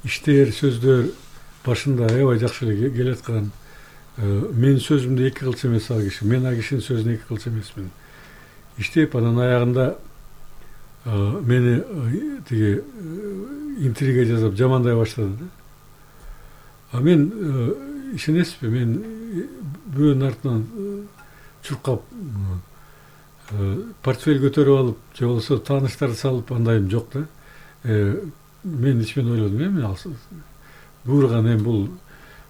иштер, сөздөр башында аябай жакшы эле келаткан. Менин сөзүмдү эки кылчу эмес ал киши, мен ал кишинин сөзүн эки кылчу эмесмин. Иштеп анан аягында мени тиги интрига жасап жамандай баштады да. А мен ишенесизби, мен бирөөнүн артынан чуркап портфель көтөрүп алып, же болбосо тааныштарды салып андайым жок да. Мен ичимен ойлодум, мен буурган эми бул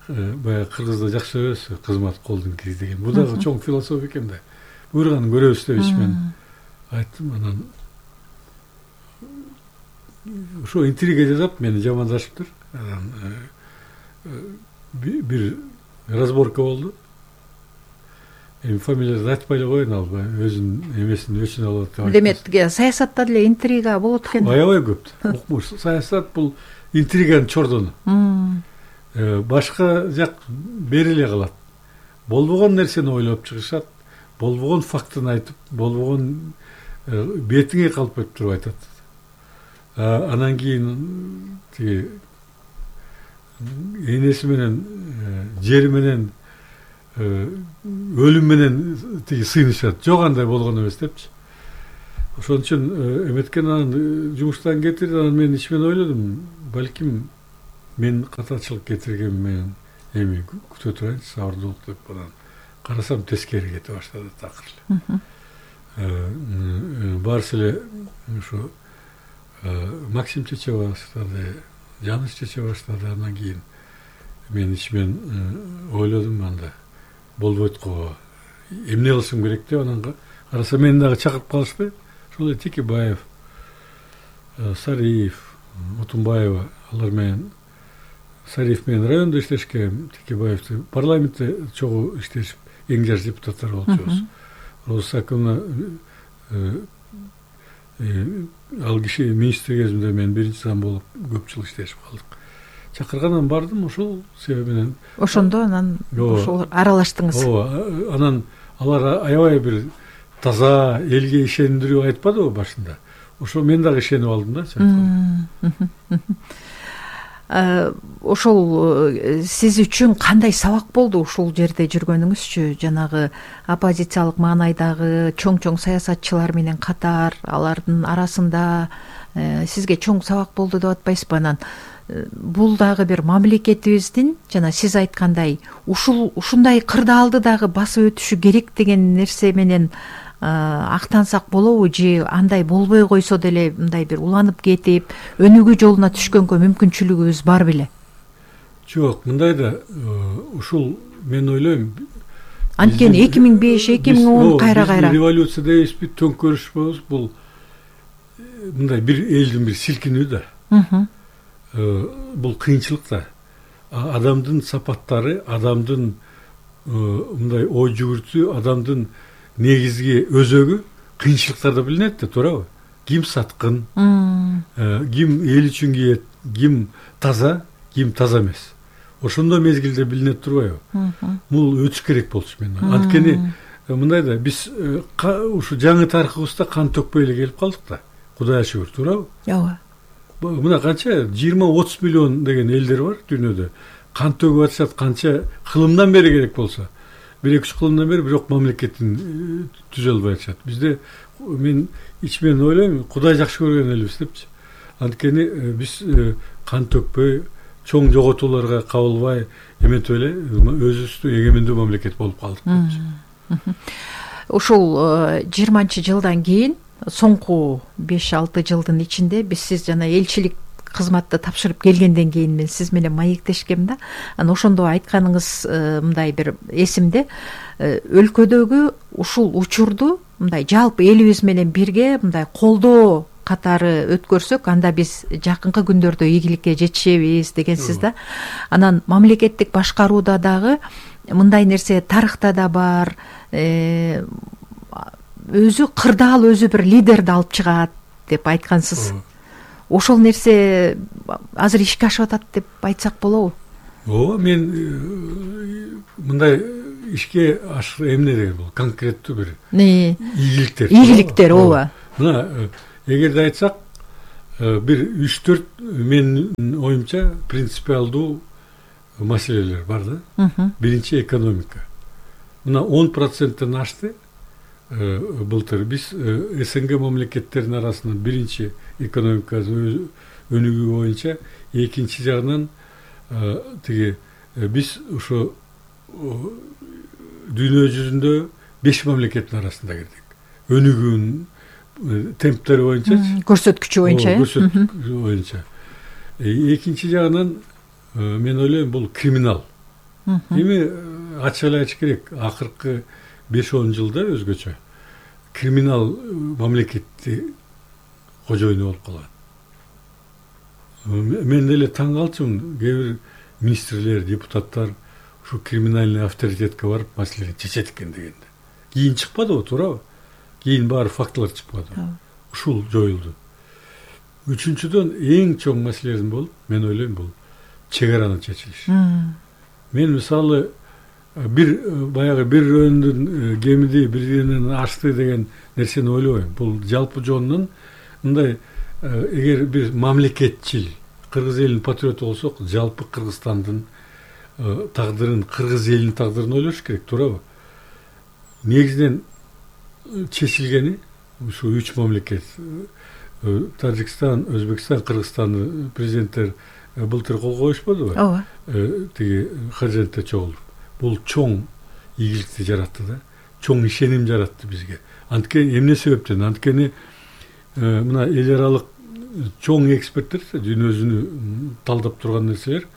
баягы кыргызда жакшы сөз кызмат колдун кири деген. Бул дагы чоң философия экен да. Буурганын көрөбүз деп ичимен айттым. Анан ошо интрига жасап мени жамандашыптыр. Анан бир разборка болду. Эми фамилиясын айтпай эле коеюн, албай өзүнүн эмесин өчүн алып атат. Демек, саясатта деле интрига болот экен. Аябай көп. Укмуш. Саясат бул интриганын чордону. Башка жак бериле калат. Болбогон нерсени ойлоп чыгышат, болбогон фактын айтып, болбогон бетиңе калпайып туруп айтат. Анан кийин тиги энеси менен, жери менен, өлүм менен тиги сыйнышат. Жок, андай болгон эмес депчи. Ошон үчүн эметкен анан жумуштан кетирди. Анан мен ичимен ойлодум, балким мен катачылык кетирген менен эми күтө турайынчы, сабырдуулук деп. Анан карасам тескери кете баштады такыр эле. Барысы эле ушу Максим чече баштады, Жаныш чече баштады. Анан кийин мен ичимен ойлодум, анда болбойт го, эмне кылышым керек деп. Анан караса мени дагы чакырып калышпай, ошол эле Текебаев, Сариев, Отунбаева, алар менен, Сариев менен райондо иштешкен, Текебаевди парламентте чогуу иштешип, эң жаш депутаттар болчубуз. Росакымна ал киши министр кезинде мен биринчи зам болуп көп жыл иштешип калдык. Чакыргандан бардым, ошол себеби менен. Ошондо анан ошол аралаштыңыз. Ооба, анан алар аябай бир таза, элге ишендирүү айтпадыбы башында. Ошо мен дагы ишенип алдым да. Ошол сиз үчүн кандай сабак болду ушул жерде жүргөнүңүзчү? Жанагы оппозициялык маанайдагы чоң саясатчылар менен катар, алардын арасында сизге чоң сабак болду деп атпайсызбы? Анан бул дагы бир мамлекетибиздин жана сиз айткандай ушундай кырдаалды дагы басып өтүшү керек деген нерсе менен актансак болобу, же андай болбой койсо деле мындай бир уланып кетип өнүгүү жолуна түшкөнгө мүмкүнчүлүгүбүз бар беле? Жок, мындай да ушул мен ойлойм. Анткени 2005-2010 кайра революция дейбизби, төңкөрүш болобуз, бул мындай бир элдин бир силкинүү да. Бул кыйынчылык да. Адамдын сапаттары, адамдын мындай ой жүгүртүү, адамдын негизги өзөгү кыйынчылыктарда билинет да, туурабы? Ким саткын, ким эл үчүн кийет, ким таза эмес. Ошондой мезгилде билинет турбайбы? Бул өтүш керек болчу мен. Анткени мындай да, биз ушу жаңы тарыхыбызда кан төкпөй эле келип калдык да. Кудайга шүгүр, туурабы? Ооба. Мына канча 20-30 миллион деген элдер бар дүйнөдө. Кан төгүп атышат, канча кылымдан бери керек болсо. 1-2 кылымдан бери бирок мамлекетин түзө албай атышат. Бизде мен ичимен ойлойм, Кудай жакшы көргөн элбиз депчи. Анткени биз кан төкпөй, чоң жоготууларга кабылбай эметип эле өзүбүздү эгемендүү мамлекет болуп калдык депчи. Ушул 20-жылдан кийин соңку 5-6 жылдын ичинде сиз жана элчилик кызматты тапшырып келгенден кийин мен сиз менен маектешкем да. Анан ошондо айтканыңыз мындай бир эсимде, өлкөдөгү ушул учурду мындай жалпы элибиз менен бирге мындай колдоо катары өткөрсөк, анда биз жакынкы күндөрдө ийгиликке жетишебиз дегенсиз да. Анан мамлекеттик башкарууда дагы мындай нерсе тарыхта да бар, өзү кырдаал, өзү бир лидерди алып чыгат деп айткансыз. Ошол нерсе азыр ишке ашып атат деп айтсак болобу? Ооба, мен мындай ишке ашыр эмне деген бул конкреттүү бир ийгиликтер. Ийгиликтер, ооба. Мына эгерде айтсак, бир 3-4 менин оюмча принципиалдуу маселелер бар да. Биринчи экономика. Мына 10%-тен ашты. Былтыр биз СНГ мамлекеттеринин арасынан биринчи экономикасы өнүгүү боюнча, экинчи жагынан тиги биз ошо дүйнө жүзүндө 5 мамлекеттин арасында кирдик. Өнүгүүнүн темптери боюнча, көрсөткүчү боюнча. Көрсөткүчү боюнча. Экинчи жагынан мен ойлойм бул криминал. Эми ачык эле айтыш керек, акыркы 5-10 жылда өзгөчө криминал мамлекетти кожоюну болуп калган. Мен деле таң калчумун, кээ бир министрлер, депутаттар ушу криминальный авторитетке барып маселени чечет экен дегенде. Кийин чыкпадыбы, туурабы? Кийин баары фактылар чыкпады. Ушул жоюлду. Үчүнчүдөн эң чоң маселелердин болуп, мен ойлойм, бул чек араны чечилиш. Мен мисалы баягы бир өндүн кемиди бирденен ашты деген нерсени ойлобойм. Бул жалпы жонунан мындай, эгер бир мамлекетчил кыргыз элинин патриоту болсок, жалпы Кыргызстандын тагдырын, кыргыз элинин тагдырын ойлош керек, туурабы? Негизинен чечилгени ушу 3 мамлекет, Тажикстан, Өзбекстан, Кыргызстандын президенттер былтыр кол коюшпадыбы? Ооба. Тиги Хажентте чогулуп. Бул чоң ийгиликти жаратты да, чоң ишеним жаратты бизге. Анткени эмне себептен? Анткени мына эл аралык чоң эксперттер, дүйнө жүзүнү талдап турган нерселер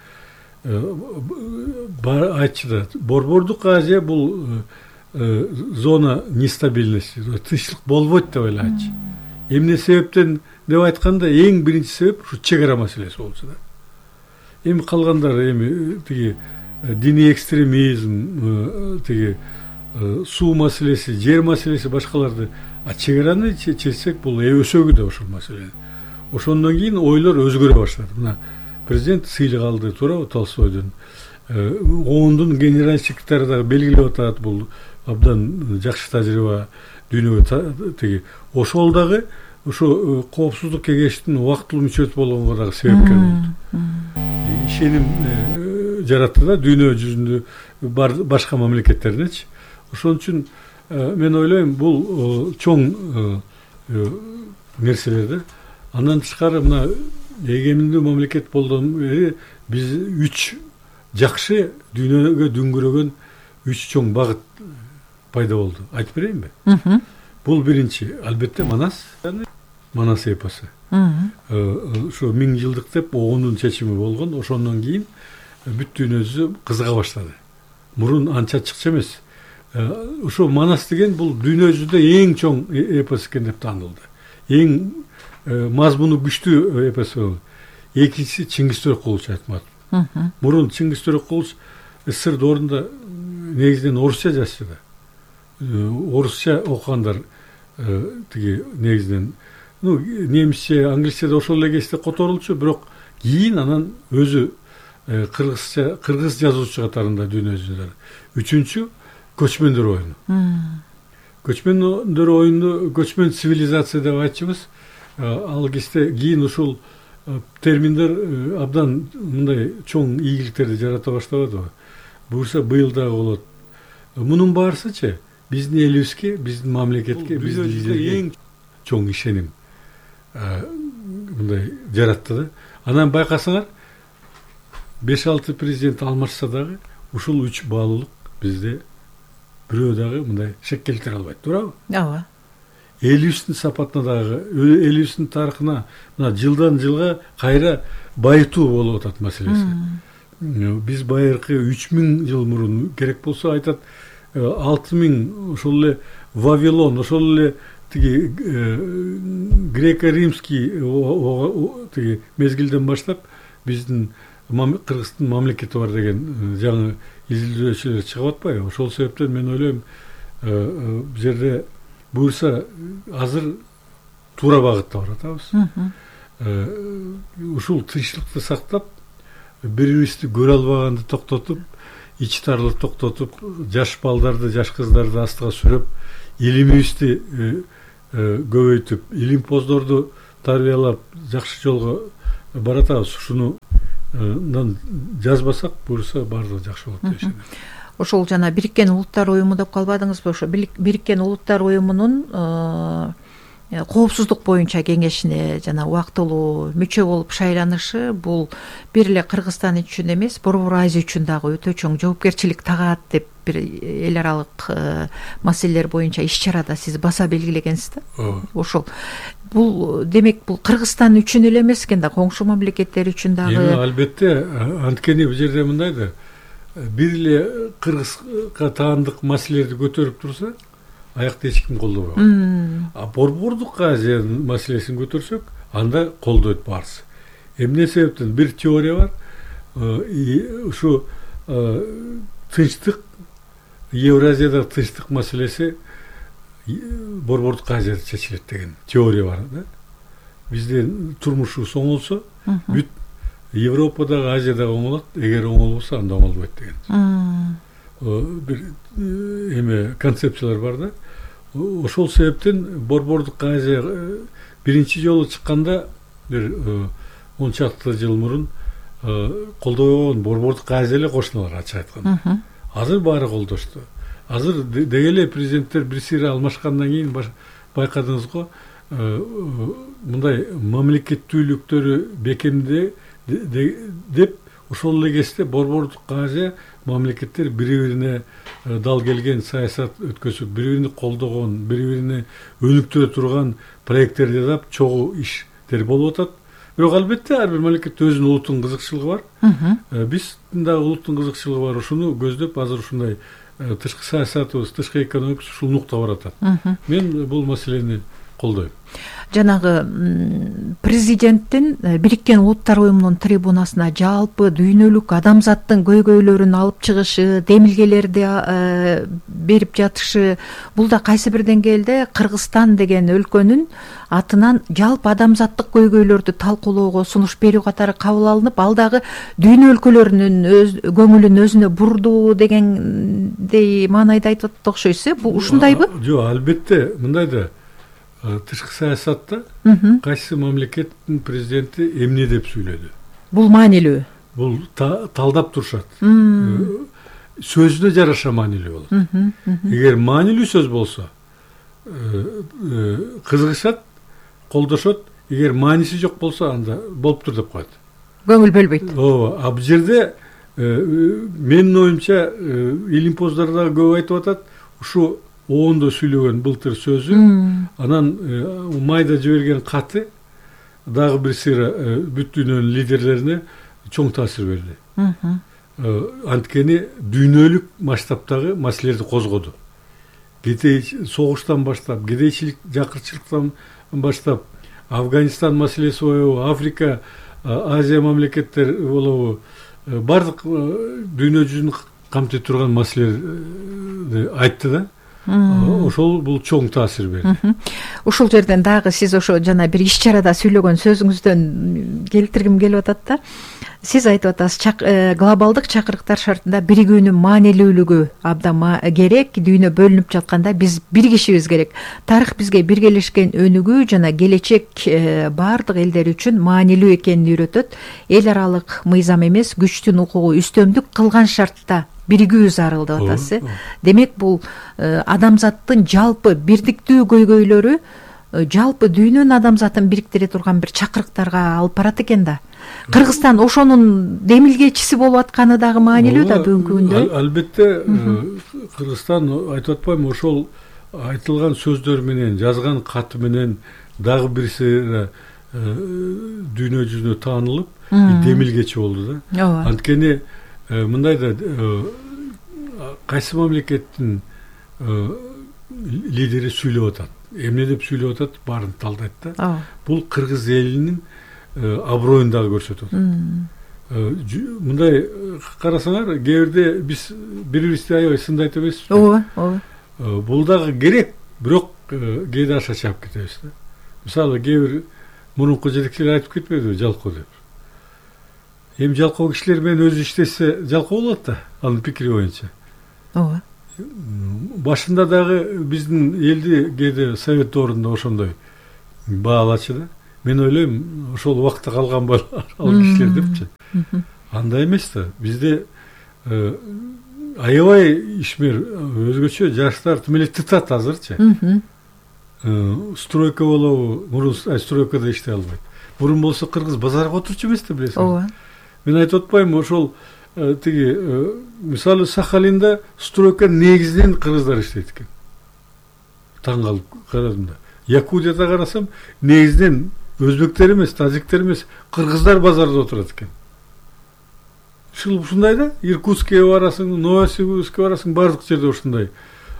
айтчу да, Борбордук Азия бул зона нестабильности, тынчтык болбойт деп эле айтчу. Эмне себептен деп айтканда, эң биринчи себеп ушу чек ара маселеси болчу да. Эми калгандар тиги диний экстремизм, тиги суу маселеси, жер маселеси, башкаларды, чек араны чечсек бул өсөгү да ошол маселе. Ошондон кийин ойлор өзгөрө баштады. Мына президент сыйлык алды, туурабы, Толстойдон. ООНдун генеральный секретары дагы белгилеп атат, бул абдан жакшы тажрыйба дүйнөгө тиги. Ошол дагы ошо коопсуздук кеңештин убактылуу мүчөсү болгонго дагы себепкер болду. Ишеним жаратты да дүйнө жүзүндө башка мамлекеттердечи. Ошон үчүн мен ойлойм, бул чоң нерселер. Андан тышкары мына эгеминдүү мамлекет болгондон бери биз 3 жакшы дүйнөгө дүңгүрөгөн 3 чоң багыт пайда болду. Айтып берейинби? Бул биринчи, албетте, Манас эпосу. Ошо 1000 жылдык деп ООНдун чечими болгон. Ошондон кийин бүт дүйнө жүзү кызыга баштады. Мурун анча чыкчы эмес. Ошо Манас деген бул дүйнө жүзүндө эң чоң эпос экен деп таанылды. Эң мазмуну күчтүү эпос болду. Экинчиси Чыңгыз Төрөкулович Айтматов. Мурун Чыңгыз Төрөкулович СССР доорунда негизинен орусча жазчу да. Орусча окугандар тиги негизинен немисче, англисче да ошол эле кезде которулчу, бирок кийин анан өзү кыргыз жазуучу катарында дүйнө жүзүндө. Үчүнчү көчмөндөр оюну. Көчмөндөр оюну көчмөн цивилизация деп айтчубуз. Ал кезде кийин ушул терминдер абдан мындай чоң ийгиликтерди жарата баштабадыбы? Буюрса быйыл дагы болот. Мунун баарысычы биздин элибизге, биздин мамлекетке, биздин лидерге эң чоң ишеним мындай жаратты да. Анан байкасаңар 5-6 президент алмашса дагы ушул 3 баалуулук бизде бирөө дагы мындай шек келтире албайт, туурабы? Ооба. Элибиздин сапатына дагы, элибиздин тарыхына мына жылдан жылга кайра байытуу болуп атат маселеси. Биз байыркы 3000 жыл мурун керек болсо айтат 6000 ошол эле Вавилон, ошол эле тиги греко-римский тиги мезгилден баштап биздин Кыргыздын мамлекети бар деген жаңы изилдөөчүлөр чыгып атпайбы? Ошол себептен мен ойлойм, бул жерде буюрса азыр туура багытта баратабыз. Ушул тынчтыкты сактап, бири-бирибизди көрө албаганды токтотуп, ич тарлык токтотуп, жаш балдарды, жаш кыздарды астыга сүрөп, илимибизди көбөйтүп, илимпоздорду тарбиялап жакшы жолго баратабыз. Ушуну жазбасак буюрса баардыгы жакшы болот деп ишенем. Ошол жана Бириккен Улуттар уюму деп калбадыңызбы? Ошо Бириккен Улуттар уюмунун коопсуздук боюнча кеңешине жана убактылуу мүчө болуп шайланышы бул бир эле Кыргызстан үчүн эмес, Борбор Азия үчүн дагы өтө чоң жоопкерчилик тагаат деп бир эл аралык маселелер боюнча иш-чарада сиз баса белгилегенсиз да. Ошол бул демек бул Кыргызстан үчүн эле эмес экен да, коңшу мамлекеттер үчүн дагы. Албетте, анткени бул жерде мындай да, бир эле Кыргызга таандык маселелерди көтөрүп турса, аякта эч ким колдобойт. Борбордук Азия маселесин көтөрсөк, анда колдойт баарысы. Эмне себептен? Бир теория бар. Ушу тынчтык, Евразияда тынчтык маселеси Борбордук Азияда чечилет деген теория бар да. Бизде турмушубуз оңолсо, бүт Европадагы, Азиядагы оңолот, эгер оңолбосо анда оңолбойт деген. Бир эме концепциялар бар да. Ошол себептен Борбордук Азия биринчи жолу чыкканда бир 10 чакты жыл мурун колдобогон Борбордук Азия эле кошуналар, ачык айтканда. Азыр баары колдошту. Азыр деги эле президенттер бири-бири алмашкандан кийин байкадыңыз го, мындай мамлекеттүүлүктөрү бекемде деп ошол эле кезде Борбордук Азия мамлекеттер бири-бирине дал келген саясат өткөзүп, бири-биrini колдогон, бири-бирине өнүктүрө турган проекттер жасап, чогуу иштер болуп атат. Бирок албетте ар бир мамлекетте өзүнүн улуттун кызыкчылыгы бар. Биздин дагы улуттун кызыкчылыгы бар. Ушуну көздөп азыр ушундай тышкы саясатыбыз, тышкы экономикабыз ушул нукта баратат. Мен бул маселени колдойм. Жанагы президенттин Бириккен Улуттар уюмунун трибунасына жалпы дүйнөлүк адамзаттын көйгөйлөрүн алып чыгышы, демилгелерди берип жатышы, бул да кайсы бир деңгээлде Кыргызстан деген өлкөнүн атынан жалпы адамзаттык көйгөйлөрдү талкуулоого сунуш берүү катары кабыл алынып, ал дагы дүйнө өлкөлөрүнүн көңүлүн өзүнө бурду дегендей маанайда айтып атат окшойсуз. Бул ушундайбы? Жок, албетте мындай да. Тышкы саясатта кайсы мамлекеттин президенти эмне деп сүйлөдү? Бул маанилүү. Бул талдап турушат. Сөзүнө жараша маанилүү болот. Эгер маанилүү сөз болсо, кызыгышат, колдошот. Эгер мааниси жок болсо, анда болуптур деп коет. Көңүл бөлбөйт. Ооба, бул жерде менин оюмча илимпоздарда көп айтып атат, ушу оондо сүйлөгөн былтыр сөзү, анан майда жиберген каты дагы бир сыйра бүт дүйнөнүн лидерлерине чоң таасир берди. Анткени дүйнөлүк масштабтагы маселелерди козгоду. Согуштан баштап, кедейчилик, жакырчылыктан баштап, Афганистан маселеси болобу, Африка, Азия мамлекеттер болобу, бардык дүйнө жүзүн камтый турган маселелерди айтты да. Ошол бул чоң таасир берди. Ушул жерден дагы сиз ошо жана бир иш-чарада сүйлөгөн сөзүңүздөн келтиргим келип атат да. Сиз айтып атасыз, глобалдык чакырыктар шартында биригүүнүн маанилүүлүгү абдан керек. Дүйнө бөлүнүп жатканда биз биригишибиз керек. Тарых бизге биргелешкен өнүгүү жана келечек бардык элдер үчүн маанилүү экенин үйрөтөт. Эл аралык мыйзам эмес, күчтүн укугу үстөмдүк кылган шартта биригүү зарыл деп атасыз. Демек бул адамзаттын жалпы бирдиктүү көйгөйлөрү жалпы дүйнөнүн адамзатын бириктире турган бир чакырыктарга алып барат экен да. Кыргызстан ошонун демилгечиси болуп атканы дагы маанилүү да бүгүнкү күндө. Албетте Кыргызстан, айтып атпаймынбы, ошол айтылган сөздөр менен, жазган каты менен дагы бирси дүйнө жүзүнө таанылып, демилгечи болду да. Анткени мындай да, кайсы мамлекеттин лидери сүйлөп атат, эмне деп сүйлөп атат, баарын талдайт да. Бул кыргыз элинин аброюн дагы көрсөтөт. Мындай карасаңар, кээ бирде биз бири-бирибизди аябай сындайт эмеспизби? Ооба. Бул дагы керек, бирок кээде аша чаап кетебиз да. Мисалы, кээ бир мурунку жетекчилер айтып кетпедиби, жалкоо деп. Эми жалкоо кишилер менен өзү иштесе жалкоо болот да, анын пикири боюнча. Ооба. Башында дагы биздин элди кээде совет доорунда ошондой баалачы да. мен ойлойм ошол убакытта калган ал кишилер депчи. Андай эмес да. Бизде аябай ишмер өзгөчө жаштар тим эле тытат азырчы. Стройка болобу, мурун стройкада иштей албайт. Мурун болсо кыргыз базарга отурчу эмес да, билесиң. ооба. Мен айтып атпайм, ошол тиги мисалы Сахалинда стройка негизинен кыргыздар иштейт экен. Таң калып карадым да. Якутияда карасам, негизинен өзбектер эмес, тажиктер эмес, кыргыздар базарда отурат экен. Ушундай да, Иркутскке барасың, Новосибирскке барасың, бардык жерде ушундай.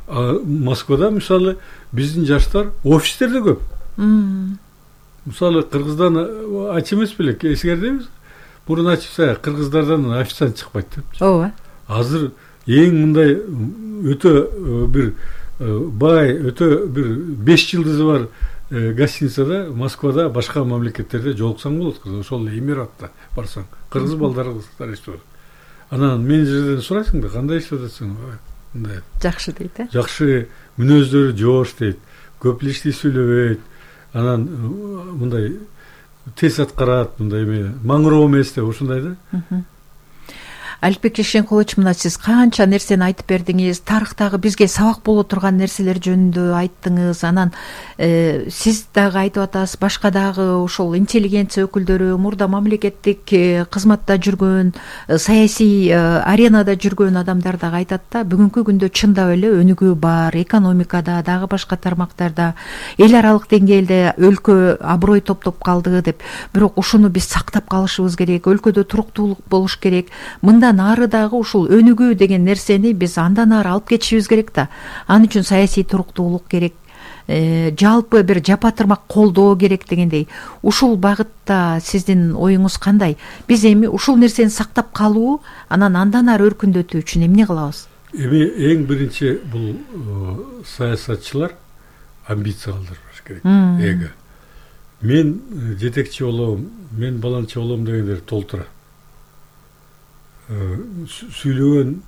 Москвада мисалы биздин жаштар офистерде көп. Мисалы кыргыздан ач эмес беле, эсиңердеби? Мурун ачса кыргыздардан официант чыкпайт деп. Ооба. Азыр эң мындай өтө бир бай, өтө бир 5 жылдызы бар гостиницада Москвада, башка мамлекеттерде жолуксаң болот. Ошол Эмиратта барсаң, кыргыз балдарыбыздар иштеп. Анан менеджерден сурайсың да, кандай иштеп атасың? Мындай. Жакшы дейт, э? Жакшы, мүнөздөрү жоош дейт. Көп лишти сүйлөбөйт. Анан мындай тез аткарат, мындай эме, маңыроо эмес деп, ушундай да. Аликбек Шешенкулович, мына сиз канча нерсени айтып бердиңиз, тарыхтагы бизге сабак боло турган нерселер жөнүндө айттыңыз. Анан сиз дагы айтып атасыз, башка дагы ошол интеллигенция өкүлдөрү, мурда мамлекеттик кызматта жүргөн, саясий аренада жүргөн адамдар дагы айтат да, бүгүнкү күндө чындап эле өнүгүү бар, экономикада, дагы башка тармактарда, эл аралык деңгээлде өлкө аброй топтоп калды деп. Бирок ушуну биз сактап калышыбыз керек, өлкөдө туруктуулук болуш керек. Мындан ары дагы ушул өнүгүү деген нерсени биз андан ары алып кетишибиз керек да. Ал үчүн саясий туруктуулук керек, жалпы бир жапа-тырмак колдоо керек дегендей. Ушул багытта сиздин оюңуз кандай? Биз эми ушул нерсени сактап калуу, андан ары өркүндөтүү үчүн эмне кылабыз? Эми эң биринчи бул саясатчылар амбиция калтырбаш керек. Эго. Мен жетекчи болом, мен баланчы болом дегендер толтура. Сүйлөгөн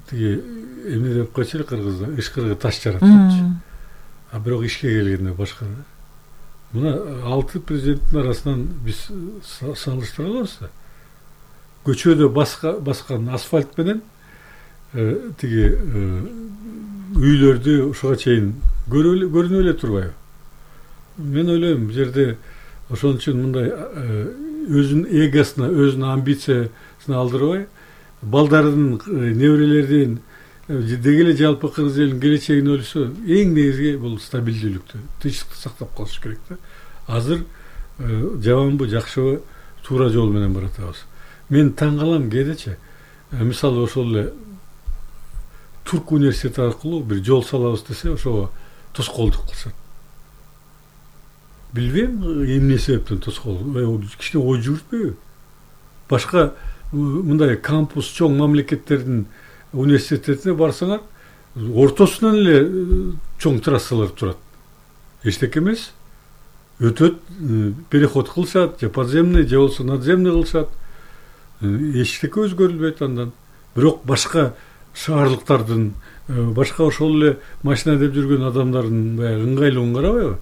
тиги эмне деп койчу кыргызда, ишкырга таш жарат депчи. А бирок ишке келгенде башка да. Мына 6 президенттин арасынан биз салыштыра алабыз да. Көчөдө баскан асфальт менен тиги үйлөрдү ушуга чейин көрүнүп эле турбайбы? Мен ойлойм, бул жерде ошон үчүн мындай өзүнүн эгосуна, өзүнүн амбициясына алдырбай, балдардын, неберелердин, деги эле жалпы кыргыз элинин келечегин ойлосо, эң негизги бул стабилдүүлүктү, тынчтыкты сактап калыш керек да. Азыр жаманбы, жакшыбы, туура жол менен баратабыз. Мен таң калам кээдечи. Мисалы ошол эле Турк университети аркылуу бир жол салабыз десе, ошого тоскоолдук кылышат. Билбейм эмне себептен тоскоол. Кичине ой жүгүртпөйбү? Башка мындай кампус чоң мамлекеттердин университетине барсаңар, ортосунан эле чоң трассалар турат. Эчтеке эмес. Өтөт, переход кылышат, же подземный, же болсо надземный кылышат. Эчтеке өзгөрүлбөйт андан. Бирок башка шаарлыктардын, башка ошол эле машина деп жүргөн адамдардын баягы ыңгайлыгын карабайбы?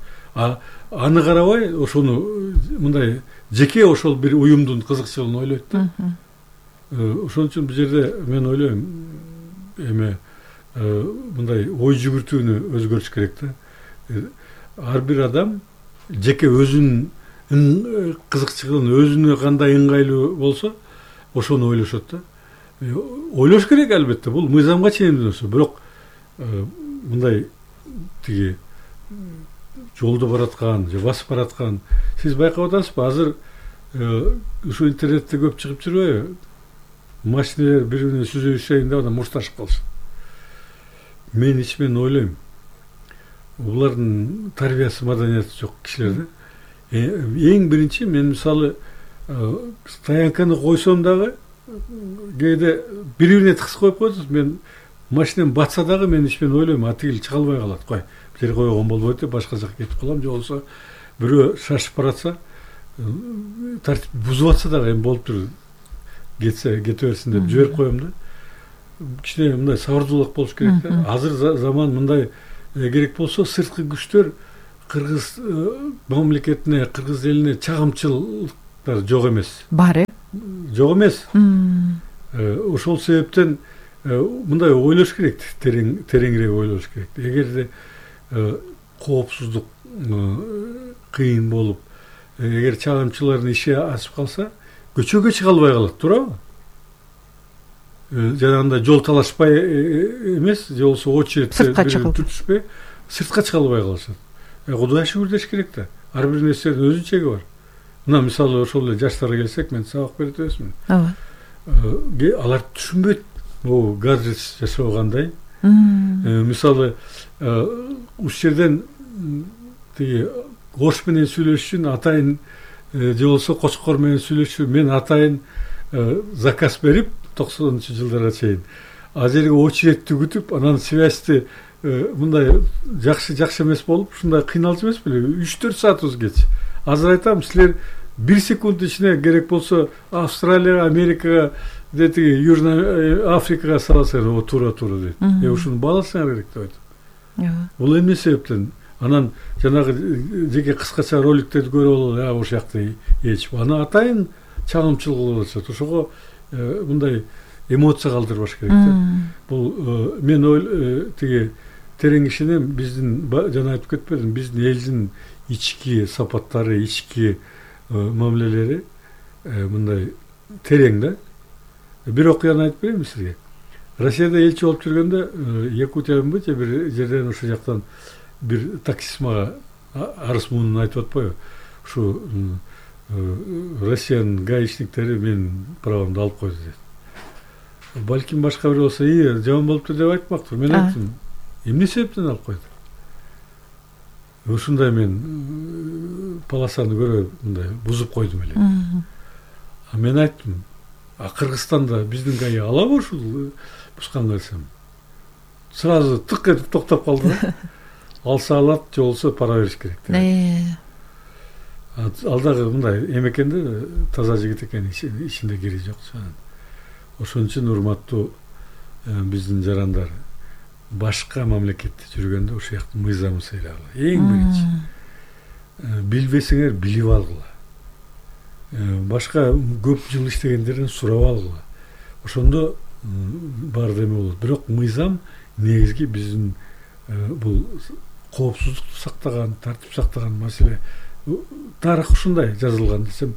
Аны карабай, ошону мындай жеке ошол бир уюмдун кызыкчылыгын ойлойт да. Ошон үчүн бул жерде мен ойлойм, эме мындай ой жүгүртүүнү өзгөртүш керек да. Ар бир адам жеке өзүнүн кызыкчылыгын, өзүнө кандай ыңгайлуу болсо, ошону ойлошот да. Ойлош керек албетте, бул мыйзамга чейин нерсе. Бирок мындай тиги жолдо бараткан, же басып бараткан, сиз байкап атасызбы? Азыр ушу интернетте көп чыгып жүрбөйбү? Машиналар бири-бирине сүзүшөйүн деп анан мушташып калышат. Мен ичимен ойлойм, булардын тарбиясы, маданияты жок кишилер да. Эң биринчи мен мисалы стоянканы койсом дагы кээде бири-бирине тыксып коюп коесуз. Мен машинем батса дагы мен ичимен ойлойм, атигил чыга албай калат. Кой, жер койгон болбойт деп башка жака кетип калам, же болсо бирөө шашып баратса, тартип бузуп атса дагы эми болуптур. Кете берсин деп жиберип коем да. Кичине мындай сабырдуулук болуш керек да. Азыр заман мындай керек болсо, сырткы күчтөр кыргыз мамлекетине, кыргыз элине чагымчылыктар жок эмес. Бар, Жок эмес. Ошол себептен мындай ойлош керек, тереңирээк ойлош керек. Эгерде коопсуздук кыйын болуп, эгер чагымчылардын иши асып калса, көчөгө чыга албай калат, туурабы? Жанагындай жол талашпай эмес, же болбосо очередте бүтүшпөй, сыртка чыга албай калышат. Кудайга шүгүр деш керек да. Ар бир нерсенин өзүнүн чеги бар. Мына мисалы ошол эле жаштарга келсек, мен сабак берип эмесмин. Алар түшүнбөйт бул гаджет жасоо кандай. Мисалы ушул жерден тиги кош менен сүйлөшүшүн атайын же болбосо кочкор менен сүйлөшүшүн мен атайын заказ берип 90-жылдарга чейин ал жерге очередти күтүп, анан связьти мындай жакшы эмес болуп, ушундай кыйналчу эмес беле? 3-4 саат узгеч. Азыр айтам, силер 1 секунд ичинде керек болсо Австралияга, Америкага, тиги Южный Африкага саласыңар, туура дейт. Ушуну бааласаңар керек деп айтам. Бул эмне себептен? Анан жанагы жеке кыскача роликтерди көрүп алып, ошол жакта ээчип, аны атайын чагымчыл кылып атышат. Ошого мындай эмоция калтырбаш керек да. Бул мен тиги терең ишенем, биздин жана айтып кетпедим, биздин элдин ички сапаттары, ички мамилелери мындай терең да. Бир окуяны айтып берейинби сизге? Россияда элчи болуп жүргөндө, Якутиябы же бир жерден ошол жактан бир таксист мага арыз муунун айтып атпайбы? Ушу Россиянын гаишниктери менин правамды алып койду дейт. Балким башка бир болсо, жаман болуптур деп айтмактыр. Мен айттым, эмне себептен алып койду? Ушундай мен полосаны көрөй, мындай бузуп койдум эле. Мен айттым, Кыргызстанда биздин гаи алабы ушул бузганга десем? Сразу тык этип токтоп калды да. Алса алат, же болбосо пара бериш керек деп. Ал дагы мындай эме экен да, таза жигит экен, ичинде кири жок. Ошон үчүн урматтуу биздин жарандар, башка мамлекетте жүргөндө ошол жактын мыйзамын сыйлагыла. Эң биринчи билбесеңер билип алгыла. Башка көп жыл иштегендерден сурап алгыла. Ошондо баардык эме болот. Бирок мыйзам негизги биздин бул коопсуздукту сактаган, тартип сактаган маселе. Тарых ушундай жазылган десем,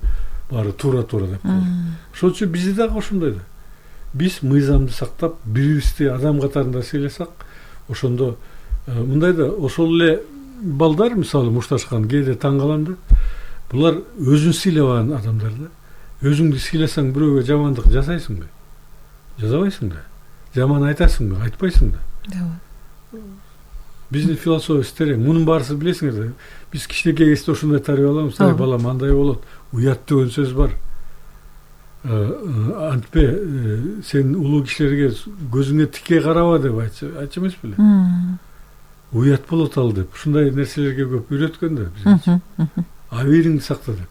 баары туура деп калды. Ошон үчүн бизде дагы ошондой да. Биз мыйзамды сактап, бирибизди адам катарында сыйласак, ошондо мындай да, ошол эле балдар, мисалы мушташкан, кээде таң калам да. Булар өзүн сыйлабаган адамдар да. Өзүңдү сыйласаң бирөөгө жамандык жасайсыңбы? Жасабайсың да. Жаман айтасыңбы? Айтпайсың да. Биздин философия терең. Мунун баарысын билесиңер да. Биз кичинекей кезде ошондой тарбияланабыз. Балам, андай болот. Уят деген сөз бар. Антпе, сен улуу кишилерге көзүңө тике караба деп айтчу эмес беле? Уят болот ал деп. Ушундай нерселерге көп үйрөткөн да бизинчи. Абийириңди сакта деп.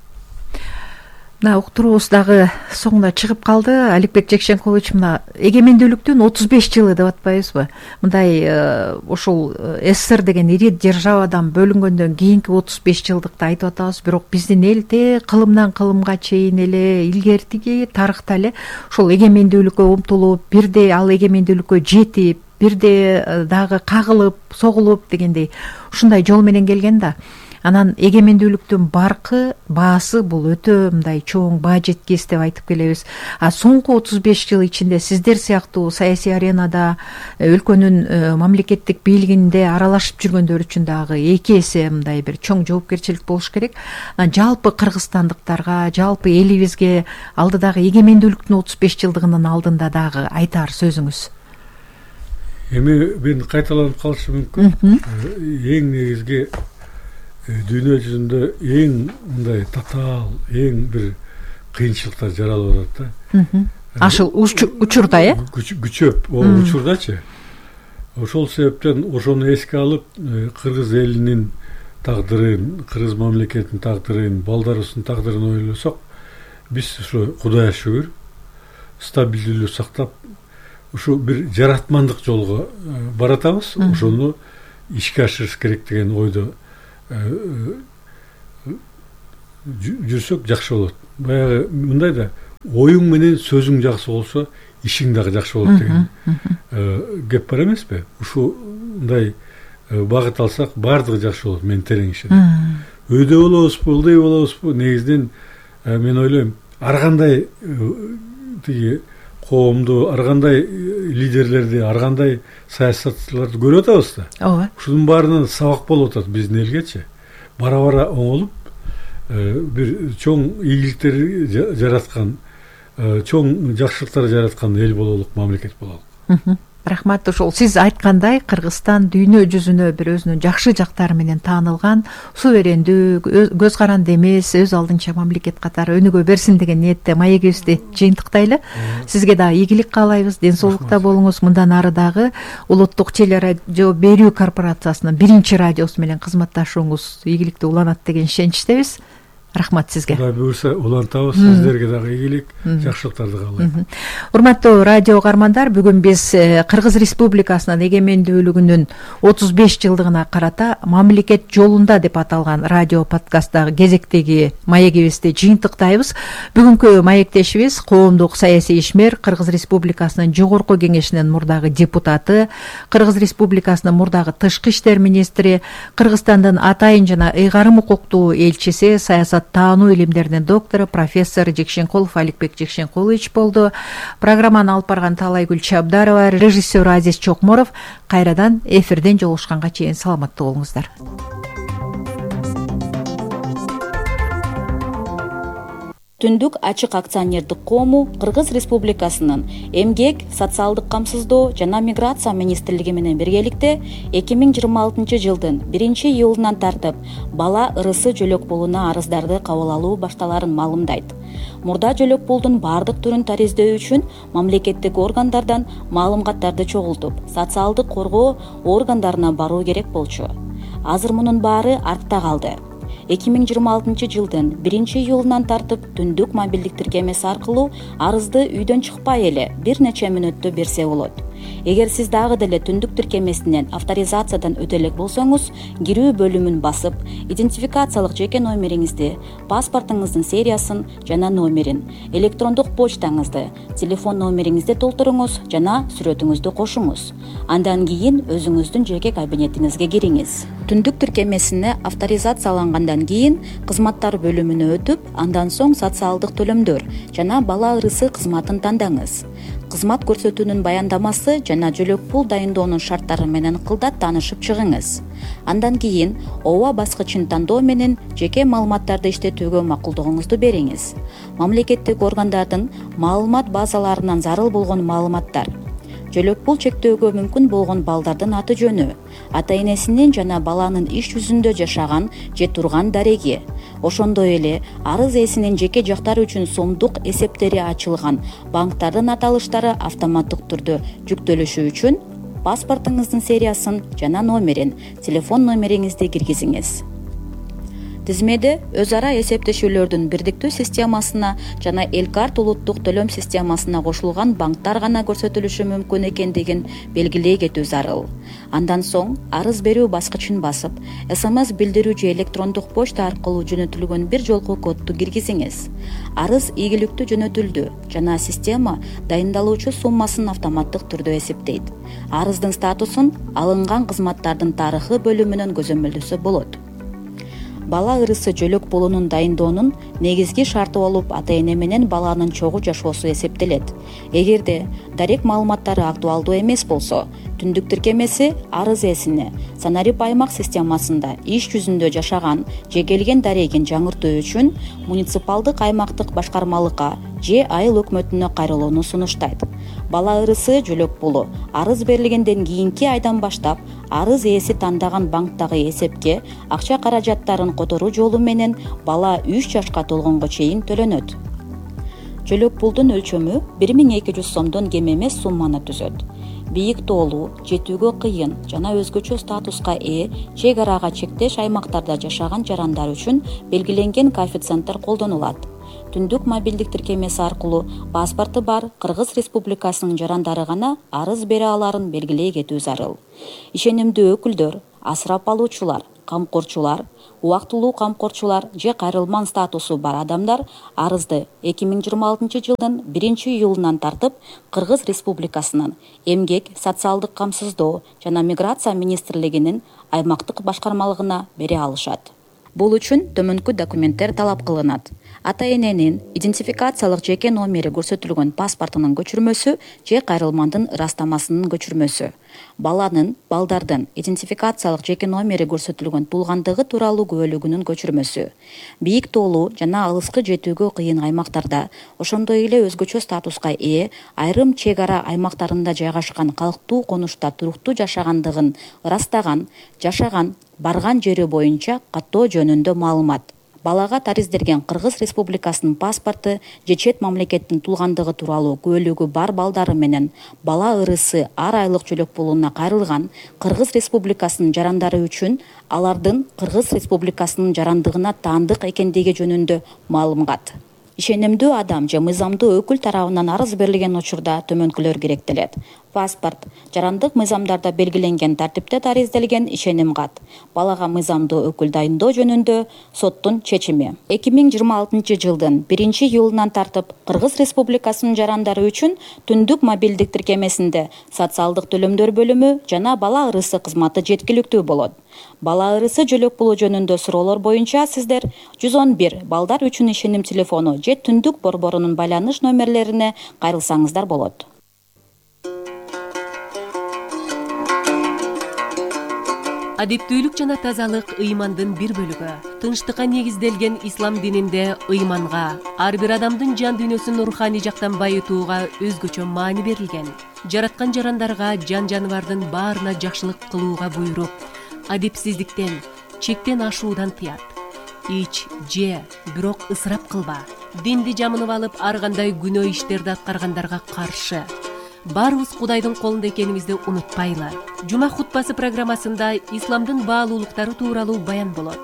Мына уктуруубуз дагы соңуна чыгып калды. Аликбек Жекшенкулович, мына эгемендүүлүктүн 35 жылы деп атпайбызбы? Мындай ошол СССР деген ири державадан бөлүнгөндөн кийинки 35 жылдыкты айтып атабыз, бирок биздин элде кылымдан кылымга чейин эле илгертиги тарыхта эле ошол эгемендүүлүккө умтулуп, бирде ал эгемендүүлүккө жетип, бирде дагы кагылып, согулуп дегендей ушундай жол менен келген да. Анан эгемендүүлүктүн баркы, баасы бул өтө мындай чоң баа жеткис деп айтып келебиз. Соңку 35 жыл ичинде сиздер сыяктуу саясий аренада өлкөнүн мамлекеттик бийлигинде аралашып жүргөндөр үчүн дагы эки эсе мындай бир чоң жоопкерчилик болуш керек. Жалпы кыргызстандыктарга, жалпы элибизге алдыдагы эгемендүүлүктүн 35 жылдыгынын алдында дагы айтар сөзүңүз. Эми мен кайталанып калышы мүмкүн. Эң негизги дүйнө жүзүндө эң мындай татаал, эң бир кыйынчылыктар жаралып атат да. Ашыл учурда, күчөп, учурдачы. Ошол себептен ошону эске алып, кыргыз элинин тагдырын, кыргыз мамлекетинин тагдырын, балдарыбыздын тагдырын ойлосок, биз ушу Кудайга шүгүр стабилдүүлүктү сактап, ушу бир жаратмандык жолго баратабыз. Ошону ишке ашырыш керек деген ойдо жүрсөк жакшы болот. Баягы мындай да оюң менен сөзүң жакшы болсо ишиң дагы жакшы болот деген кеп бар эмеспи? Ушундай багыт алсак баардыгы жакшы болот, мен терең ишенем. Өйдө болобузбу, ылдый болобузбу, негизинен мен ойлойм, ар кандай тиги коомду, ар кандай лидерлерди, ар кандай саясатчыларды көрүп атабыз да. Ооба. Ушунун баарынан сабак болуп атат биздин элгечи. Бара-бара оңолуп, бир чоң ийгиликтер жараткан, чоң жакшылыктар жараткан эл бололук, мамлекет бололук. Рахмат. Ошол сиз айткандай, Кыргызстан дүйнө жүзүнө бир өзүнүн жакшы жактары менен таанылган, суверендүү, көз каранды эмес, өз алдынча мамлекет катары өнүгө берсин деген ниетте маегибизди жыйынтыктайлы. Сизге дагы ийгилик каалайбыз, ден соолукта болуңуз. Мындан ары дагы улуттук телерадио берүү корпорациясынын биринчи радиосу менен кызматташууңуз ийгиликтүү уланат деген ишеничтебиз. Рахмат сизге. Кудай буйрса улантабыз, сиздерге дагы ийгилик, жакшылыктарды каалайм. Урматтуу радио угармандар, бүгүн биз Кыргыз Республикасынын эгемендүүлүгүнүн 35 жылдыгына карата мамлекет жолунда деп аталган радио подкасттагы кезектеги маегибизди жыйынтыктайбыз. Бүгүнкү маектешибиз коомдук саясий ишмер, Кыргыз Республикасынын жогорку кеңешинин мурдагы депутаты, Кыргыз Республикасынын мурдагы тышкы иштер министри, Кыргызстандын атайын жана ыйгарым укуктуу элчиси, саясат таануу илимдеринин доктору, профессор Жекшенкулов Аликбек Жекшенкулович болду. Программаны алып барган Таалайгүл Чабдарова, режиссер Азиз Чокморов. Кайрадан эфирден жолугушканга чейин саламаттуу болуңуздар. Түндүк ачык акционердик коому Кыргыз Республикасынын Эмгек, социалдык камсыздоо жана миграция министрлиги менен биргеликте 2026 жылдын 1-июлунан тартып бала ырысы жөлөк пулуна арыздарды кабыл алуу башталарын маалымдайт. Мурда жөлөк пулдун баардык түрүн тариздөө үчүн мамлекеттик органдардан маалыматтарды чогултуп, социалдык коргоо органдарына баруу керек болчу. Азыр мунун баары артта калды. 2026 жылдын 1-июлунан тартып түндүк мобилдик тиркемеси аркылуу арызды үйдөн чыкпай эле бир нече мүнөттө берсе болот. Эгер сиз дагы деле түндүк тиркемесинен авторизациядан өтө элек болсоңуз, кирүү бөлүмүн басып, идентификациялык жеке номериңизди, паспортуңуздун сериясын жана номерин, электрондук почтаңызды, телефон номериңизди толтуруңуз жана сүрөтүңүздү кошуңуз. Андан кийин өзүңүздүн жеке кабинетиңизге кириңиз. Түндүк тиркемесине авторизациялангандан кийин кызматтар бөлүмүнө өтүп, андан соң социалдык төлөмдөр жана бала ырысы кызматын тандаңыз. Кызмат көрсөтүүнүн баяндамасы жана жөлөк пул дайындоонун шарттары менен кылдат таанышып чыгыңыз. Андан кийин ооба баскычын тандоо менен жеке маалыматтарды иштетүүгө макулдугуңузду бериңиз. Мамлекеттик органдардын маалымат базаларынан зарыл болгон маалыматтар, жөлөк пул чектөөгө мүмкүн болгон балдардын аты жөнү, ата энесинин жана баланын иш жүзүндө жашаган же турган дареги, ошондой эле арыз ээсинин жеке жактары үчүн сомдук эсептери ачылган банктардын аталыштары автоматтык түрдө жүктөлүшү үчүн паспортуңуздун сериясын жана номерин, телефон номериңизди киргизиңиз. Тизмеде өз ара эсептешүүлөрдүн бирдиктүү системасына жана Элкарт улуттук төлөм системасына кошулган банктар гана көрсөтүлүшү мүмкүн экендигин белгилей кетүү зарыл. Андан соң арыз берүү баскычын басып, СМС билдирүү же электрондук почта аркылуу жөнөтүлгөн бир жолку кодду киргизиңиз. Арыз ийгиликтүү жөнөтүлдү жана система дайындалуучу суммасын автоматтык түрдө эсептейт. Арыздын статусун алынган кызматтардын тарыхы бөлүмүнөн көзөмөлдөсө болот. Бала ырысы жөлөк пулунун дайындоонун негизги шарты болуп ата эне менен баланын чогуу жашоосу эсептелет. Эгерде дарек маалыматтары актуалдуу эмес болсо, түндүк тиркемеси арыз ээсине санарип аймак системасында иш жүзүндө жашаган же келген дарегин жаңыртуу үчүн муниципалдык аймактык башкармалыкка же айыл өкмөтүнө кайрылууну сунуштайт. Бала ырысы жөлөк пулу арыз берилгенден кийинки айдан баштап арыз ээси тандаган банктагы эсепке акча каражаттарын которуу жолу менен бала 3 жашка толгонго чейин төлөнөт. Жөлөк пулдун өлчөмү 1200 сомдон кем эмес сумманы түзөт. Бийик тоолуу, жетүүгө кыйын жана өзгөчө статуска ээ чек арага чектеш аймактарда жашаган жарандар үчүн белгиленген коэффициенттер колдонулат. Түндүк мобилдик тиркемеси аркылуу паспорту бар Кыргыз Республикасынын жарандары гана арыз бере аларын белгилей кетүү зарыл. Ишенимдүү өкүлдөр, асырап алуучулар, камкорчулар, убактылуу камкорчулар же кайрылман статусу бар адамдар арызды 2026 жылдын 1-июлунан тартып Кыргыз Республикасынын Эмгек, социалдык камсыздоо жана миграция министрлигинин аймактык башкармалыгына бере алышат. Бул үчүн төмөнкү документтер талап кылынат. Ата-эненин идентификациялык жеке номери көрсөтүлгөн паспортунун көчүрмөсү же кайрылмандын ырастамасынын көчүрмөсү. Балдардын идентификациялык жеке номери көрсөтүлгөн туулгандыгы тууралуу күбөлүгүнүн көчүрмөсү. Бийик тоолуу жана алыскы жетүүгө кыйын аймактарда, ошондой эле өзгөчө статуска ээ айрым чек ара аймактарында жайгашкан калктуу конушта туруктуу жашагандыгын ырастаган, жашаган, барган жери боюнча каттоо жөнүндө маалымат. Балага тариздерген Кыргыз Республикасынын паспорту же чет мамлекеттин туулгандыгы тууралуу күбөлүгү бар балдары менен бала ырысы ар айлык жөлөк пулуна кайрылган Кыргыз Республикасынын жарандары үчүн алардын Кыргыз Республикасынын жарандыгына таандык экендиги жөнүндө маалымат. Ишенимдүү адам же мыйзамдуу өкүл тарабынан арыз берилген учурда төмөнкүлөр керектелет. Паспорт, жарандык мыйзамдарда белгиленген тартипте таризделген ишеним кат, балага мыйзамдуу өкүл дайындоо жөнүндө соттун чечими. 2026 жылдын 1-июлунан тартып Кыргыз Республикасынын жарандары үчүн түндүк мобилдик тиркемесинде социалдык төлөмдөр бөлүмү жана бала ырысы кызматы жеткиликтүү болот. Бала ырысы жөлөк пулу жөнүндө суроолор боюнча сиздер 111 балдар үчүн ишеним телефону же түндүк борборунун байланыш номерлерине кайрылсаңыздар болот. Адептүүлүк жана тазалык ыймандын бир бөлүгү. Тынчтыкка негизделген ислам дининде ыйманга, ар бир адамдын жан дүйнөсүн руханий жактан байытууга өзгөчө маани берилген. Жараткан жарандарга, жан жаныбардын баарына жакшылык кылууга буйруп, адепсиздиктен, чектен ашуудан тыят. Ич, же, бирок ысырап кылба. Динди жамынып алып, ар кандай күнөө иштерди аткаргандарга каршы. Баарыбыз Кудайдын колунда экенибизди унутпайлы. Жума хутбасы программасында исламдын баалуулуктары тууралуу баян болот.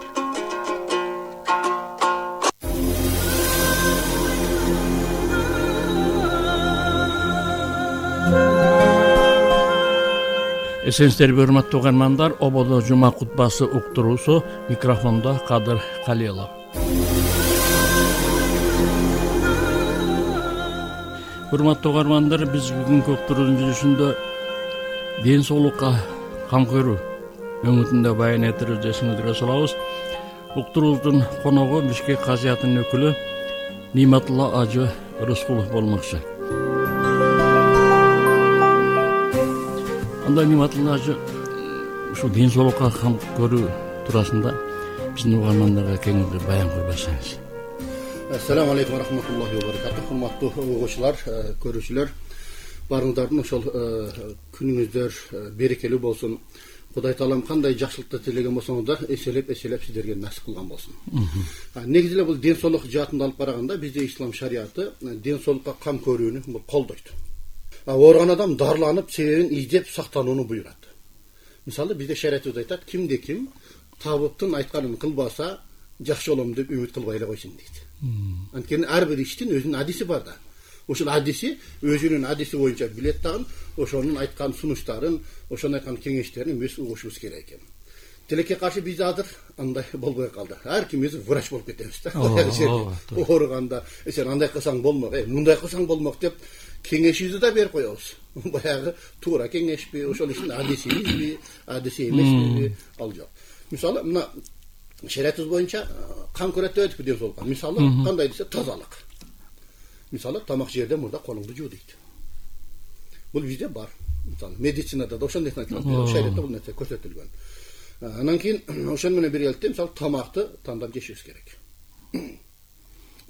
Эсенсиздерби урматтуу угармандар, ободо жума хутбасы уктуруусу, микрофондо Кадыр Калилов. Урматтуу угармандар, биз бүгүнкү уктуруунун жүрүшүндө ден соолукка кам көрүү өңүтүндө баян этибизди эсиңиздерге салабыз. Уктуруубуздун коногу Бишкек казиятынын өкүлү Ниматулла Ажы Рыскулов болмокчу. Анда Ниматулла Ажы ушул ден соолукка кам көрүү туурасында биздин угармандарга кеңири баян кылбасаңыз. Ассаламу алейкум ва рахматуллахи ва баракатух. Урматтуу угуучулар, көрүүчүлөр, баарыңыздардын ошол күнүңүздөр берекелүү болсун. Кудай таалам кандай жакшылыкты тилеген болсоңуздар, эселеп сиздерге насип кылган болсун. Негизи эле бул ден соолук жаатында алып караганда бизде ислам шарияты ден соолукка кам көрүүнү колдойт. Ооруган адам дарыланып, себебин издеп сактанууну буйрат. Мисалы бизде шариятыбыз айтат, кимде ким табыттын айтканын кылбаса, жакшы болом деп үмүт кылбай эле койсун дейт. Анткени ар бир иштин өзүнүн адиси бар да. Ошол адиси өзүнүн адиси боюнча билет дагы, ошонун айткан сунуштарын, ошонун айткан кеңештерин биз угушубуз керек экен. Тилекке каршы бизде азыр андай болбой калды. Ар кимиз врач болуп кетебиз да. Ооруганда, сен андай кылсаң болмок, мындай кылсаң болмок деп кеңешибизди да берип коебуз. Баягы туура кеңешпи, ошол иштин адисибизби, адиси эмеспи, ал жок. Мисалы, мына шариятыбыз боюнча кам көрөт деп айтып ден соолукка. Мисалы, кандай десе тазалык. Мисалы, тамак жерде мурда колуңду жуу дейт. Бул бизде бар. Мисалы, медицинада да ошондой айтылат. Шариятта бул нерсе көрсөтүлгөн. Анан кийин ошону менен биргеликте мисалы тамакты тандап жешибиз керек.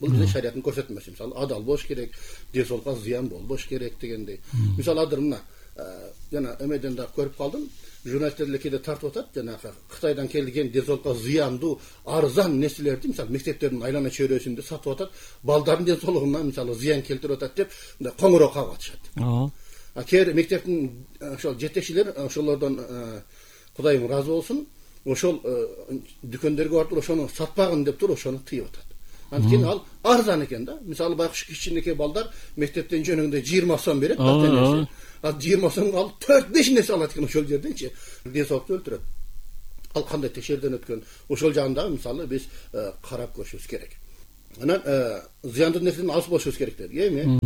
Бул бизде шарияттын көрсөтмөсү. Мисалы, адал болуш керек, ден соолукка зыян болбош керек дегендей. Мисалы, азыр мына жана эмеден да көрүп калдым. Журналисттер кээде тартып атат, жанагы Кытайдан келген ден соолукка зыяндуу, арзан нерселерди, мисалы, мектептердин айлана чөйрөсүндө сатып атат, балдардын ден соолугуна мисалы зыян келтирип атат деп, мындай коңуроо кагып атышат. Кээ мектептин ошол жетекчилер ошолордон Кудайым ыраазы болсун, ошол дүкөндөргө барып ошону сатпагын деп туруп ошону тыйып атат. Анткени ал арзан экен да. Мисалы, байкуш кичинекей балдар мектептен жөнүгүндө 20 сом берет, ал 20 сом ал 4-5 нерсе алат экен ошол жерденчи. Ден соолукту өлтүрөт. ал кандай текшерүүдөн өткөн, ошол жагын дагы мисалы биз карап көрүшүбүз керек. Анан зыяндуу нерседен алыс болушубуз керек деди. Эми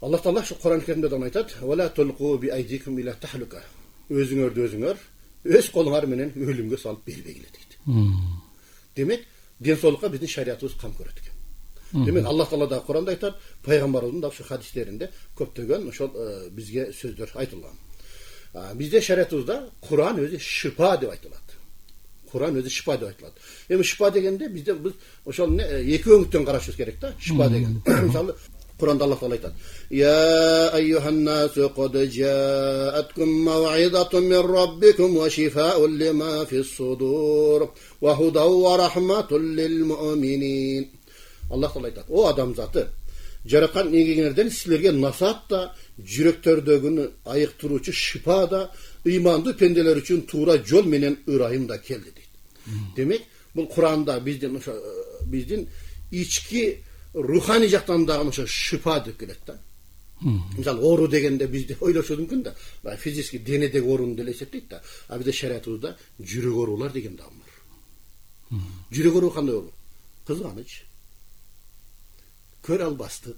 Аллах Таала шу Кур'ан-ы Керимде дагы айтат: "Вала тулку би айдикум иля тахлука." Өзүңөрдү өзүңөр өз колуңар менен өлүмгө салып бербегиле дейт. Демек, ден соолукка биздин шариятыбыз кам көрөт экен. Демек, Аллах Таала да Кур'анда айтат, пайгамбарыбыздын да ошо хадистеринде көптөгөн ошол бизге сөздөр айтылган. Bizde şeriatımızda Kur'an özü şifa diye aytılат. Kur'an özü şifa diye aytılат. Эми şifa degende bizde biz ошол эки өңүттөн карашыбыз керек да. Şifa деген. Мисалы Kur'anda Allah Taala aytат: "Ya eyyuhan nasu qad ja'atkum maw'izatun min rabbikum wa shifaa'un lima fi's sudur wa hudan wa rahmatun lil mu'minin." Allah Taala aytат: "O адамзаты, жараткан негеңерден силерге насаат да, жүрөктөрдөгүнү айыктыруучу шифа да, ыймандуу пенделер үчүн туура жол менен ырайым да келди" дейт. Демек, бул Кур'анда биздин ички руханий жактан дагы ошо шифа деп келет да. Мисалы, оору дегенде бизде ойлошуш мүмкүн да, физически денедеги ооруну деле эсептейт да. А бизде шариятыбызда жүрөк оорулар деген дагы бар. Жүрөк оору кандай оору? Кызганыч, көрө албастык.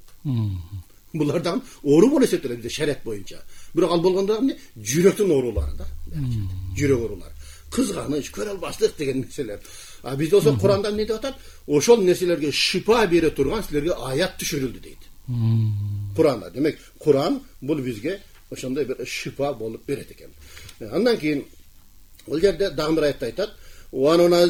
Булардан оору болуп эсептелет бизде шарият боюнча. Бирок ал болгондо эмне? Жүрөктүн оорулары да. Жүрөк оорулары. Кызганыч, көрө албастык деген нерселер. А бизде болсо Кур'анда эмне деп атат? Ошол нерселерге шифа бере турган силерге аят түшүрүлдү дейт. Кур'анда. Демек, Кур'ан бул бизге ошондой бир шифа болуп берет экен. Андан кийин ол жерде дагы бир аятта айтат: "Ва